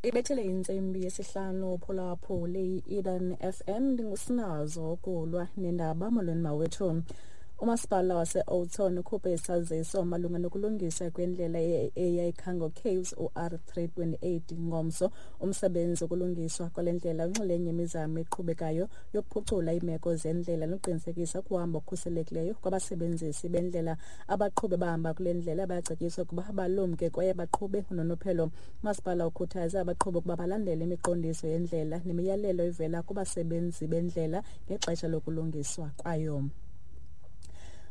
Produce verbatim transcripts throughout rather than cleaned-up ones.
Ibethele intsimbi yesihlanu phulaphuli i-Eden F M, ndingusinazo kulwa nendaba. Molweni mawethu. Umasipala wase-Oudtshoorn ukhuphe isaziso malunga nokulungisa kwendlela eya eCango Caves u-R three twenty-eight ngomso. Umsebenzi wokulungiswa kwale ndlela unxulenye imizamo eqhubekayo yokuphucula iimeko zendlela nokuqinisekisa ukuhamba okukhuselekileyo kwabasebenzisi bendlela. Abaqhubi abahamba kule ndlela bayacetyiswa ukuba balumke kwaye baqhube ngononophelo. Umasipala ukhuthaze abaqhubi ukuba balandele imiqondiso yendlela nemiyalelo evela kubasebenzi bendlela ngexesha lokulungiswa kwayo.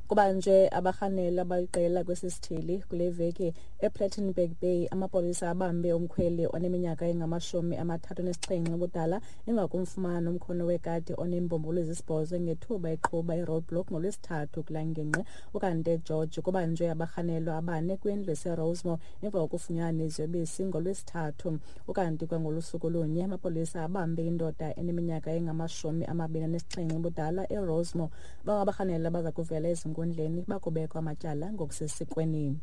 Kubanjwe abarhanelwa abaliqela kwesi sithili kule veki. EPlettenberg Bay, amapolisa abambe umkhweli oneminyaka engamashumi amathathu anesixhenxe ubudala emva komfumana nomkhono wekati oneembumbulu ezisibhozo ngethuba eqhuba iroadblock ngoLwesithathu kulaa ngingqi. Ukanti eGeorge kubanjwe abarhanelwa abane kwindlu eseRosemore emva kokufunyanwa neziyobisi ngoLwesithathu. Ukanti kwangolu suku lunye, amapolisa abambe indoda eneminyaka engamashumi amabini anesixhenxe ubudala eRosemore. Bangabarhanelwa baza kuvela ezinkundleni bakubekwa amatyala ngokusesikweni.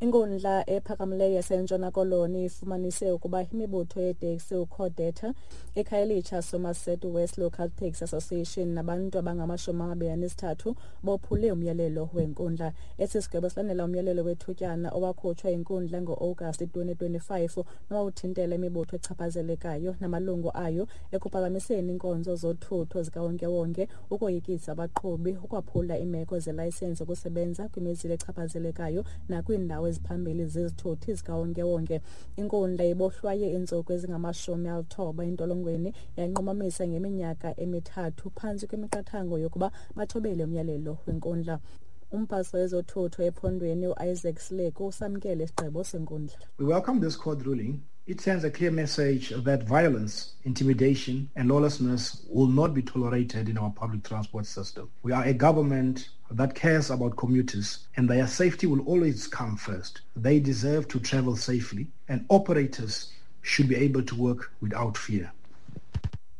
Inkundla ephakamileyo yaseNtshona Koloni ifumanise ukuba imibutho yeeteksi uCodeta, iKhayelitsha Somerset West Local Taxi Association nabantu abangamashumi amabini anesithathu bophule umyalelo wenkundla. Esi sigwebo silandela umyalelo wethutyana owakhutshwa yinkundla ngo-Agasti twenty twenty-five nowawuthintela imibutho echaphazelekayo namalungu ayo ekuphazamiseni iinkonzo zothutho zikawonkewonke, ukoyikisa abaqhubi, ukwaphula iimeko zelayisensi yokusebenza kwimizila echaphazelekayo nakwiindawo eziphambili zezithuthi zikawonkewonke. Inkundla ibohlwaye iintsuku ezingamashumi alithoba entolongweni, yanqumamisa ngeminyaka emithathu phantsi kwemiqathango yokuba bathobele umyalelo wenkundla. Umphathiswa wezothutho ephondweni uIsaac Sileku usamkele isigqibo senkundla. We welcome this court ruling. It sends a clear message that violence, intimidation, and lawlessness will not be tolerated in our public transport system. We are a government that cares about commuters, and their safety will always come first. They deserve to travel safely, and operators should be able to work without fear.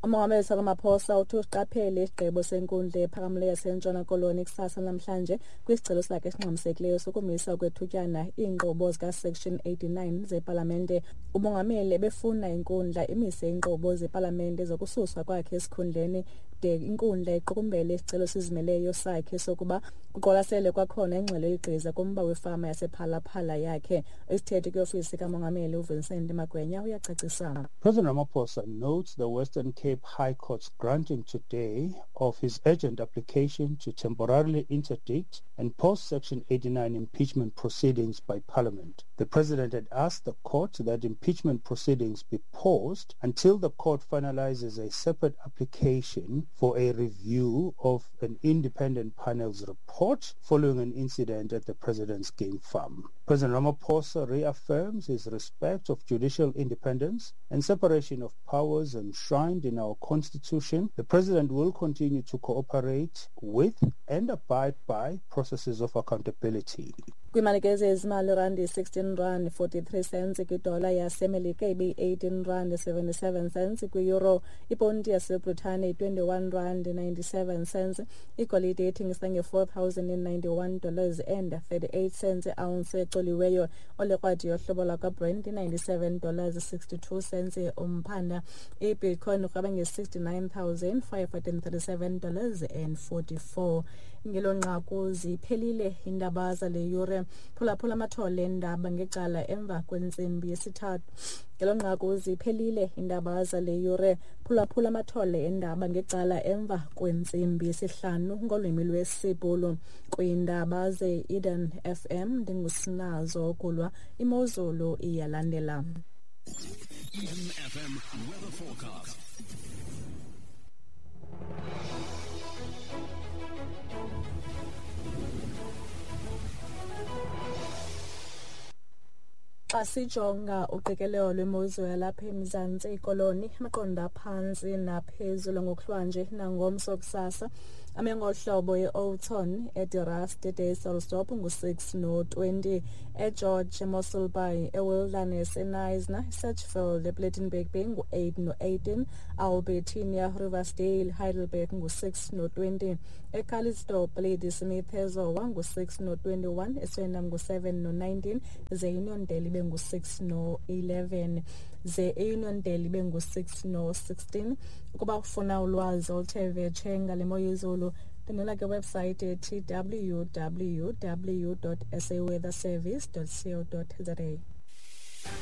Umongameli Ramaphosa uthi usiqaphele isigqibo senkundla ephakamileyo yaseNtshona Koloni kusasa namhlanje kwisicelo sakhe esingxamisekileyo sokumisa okwethutyana iinkqubo zikaSection eighty-nine zepalamente. Umongameli ebefuna inkundla imise iinkqubo zepalamente zokususwa kwakhe esikhundleni de inkundla iqukumbele isicelo esizimeleyo sakhe sokuba kuqwalaselwe kwakhona ingxelo yegqiza kumba wefama yasePhala Phala yakhe. Isithethi kwiofisi kamongameli uVincent Magwenya uyacacisa. President Ramaphosa notes the Western Cape High Court's granting today of his urgent application to temporarily interdict and pause Section eighty-nine impeachment proceedings by Parliament. The President had asked the court that impeachment proceedings be paused until the court finalizes a separate application for a review of an independent panel's report following an incident at the President's game farm. President Ramaphosa reaffirms his respect of judicial independence and separation of powers enshrined in our Constitution. The President will continue to cooperate with and abide by processes of accountability. Kwimalike zezimali, randi sixteen rand forty-three cents kwidola yaseMelika, ibeyi-eighteen rand seventy-seven cents kwi-euro, iponti yaseBritane twenty-one rand ninety-seven cents. Igolide ithengisa nge-four thousand ninety-one dollars and thirty-eight cents ounce ecoliweyo. Olekrwadi yohlobo lwakwaBrent ninety-seven dollars sixty-two cents umphanda. Ibitcoin urhweba nge-sixty-nine thousand five hundred thirty-seven dollars and forty-four. Ngelo nqaku ziphelile iindaba zale yure. Phulaphula amathole endaba ngecala emva kwentsimbi yesithathu. Ngelo nqaku ziphelile iindaba zale yure. Phulaphula amathole endaba ngecala emva kwentsimbi yesihlanu ngolwimi lwesiBhulu kwiindaba ze-Eden F M. Ndingusinazo kulwa. Imozulu iyalandela. Eden F M weather forecast. Xa sijonga uqikelelo lwemozulu yalapha eMzantsi Koloni, amaqondo aphantsi naphezulu ngokuhlwanje nangomso kusasa Ame ngohlobo e-Oudtshoorn, eDe Rust, eDysselsdorp ngu-six no-twenty, eGeorge, eMossel Bay, eWilderness, eKnysna, eSedgefield, ePlettenberg Bay ngu-eight no-eighteen, Albertinia, Riversdale, Heidelberg ngu-six no-twenty, eCalitzdorp, Ladysmith, eZowa ngu-six no-twenty-one, eSwellendam ngu-seven no-nineteen, ze Uniondale ibe ngu-six no-eleven, ze iUniondale ibe ngu-six no-sixteen. Ukuba ufuna ulwazi oluthe vetshe ngale mo yezulu, ndinela ke website ethi w w w dot saweatherservice dot co dot za.